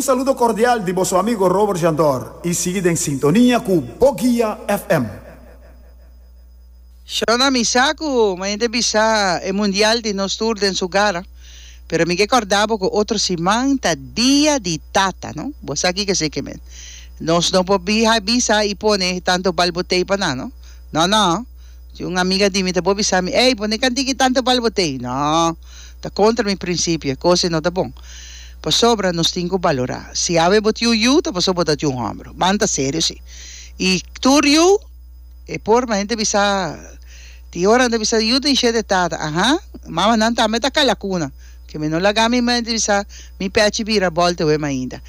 Un saludo cordial di boso amigo Robert Jandor y sigui den sintonia cu Boguia FM. Shona mi sa cu mañana ta bisa e mundial di nos tur den su gara, pero mi ke corda bo cu otro siman ta dia di tata no, bo sa kico esey ke men. Nos no por bisa y pone tanto balbotey pa nan no, no no. Si un amiga di mi ta por bisa mi, Ey, pone kantiki tantu bal bo tei. No, ta kontra mi prinsipio, e kos ei no ta bon. Pasobra nos tin ku balorá. Si awe bo tin un yu, ta pasobra bo ta tin un hòmber. Ban ta serio si. I tur yu, e por, ma hende bisa, tin ora nan ta bisa, yu tin shete tata. Aha, mamanan tambe ta kalakuna. Ke mi no laga mi mente bisa mi pechi bira bòlta wem ainda.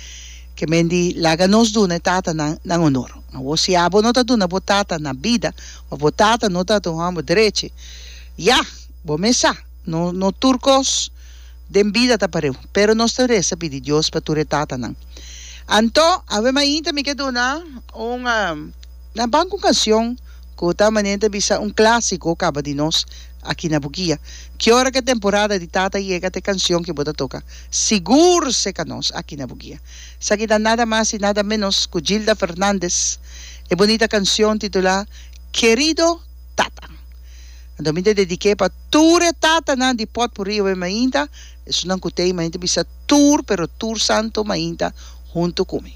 Ke men di laga nos duna e tatanan nan honor. Awor si abo no ta duna bo tata na bida, òf bo tata no ta un hòmber drechi, ya, bo mes sa, no no tur kos den bida ta pareu. Pero nos ta resa pidi Dios pa tur e tatanan. Anto, awe mainta mi ke duna un nan ban ku un kansion ku ta manera ta bisa un klásiko kaba di nos aki na Bukia. Ki ora ku e temporada di tata yega ta e kansion ku bo ta toka sigur seka nos aki na Bukia. Esaki ta nada mas i nada menos ku Gilda Fernandez, e bunita kansion titulá Kerido Tata. Anto mi ta dedik'é pa tur e tatanan di Potpurrí awe mainta, esunnan ku t'ei mainta bisa tur pero tur santo mainta huntu ku mi.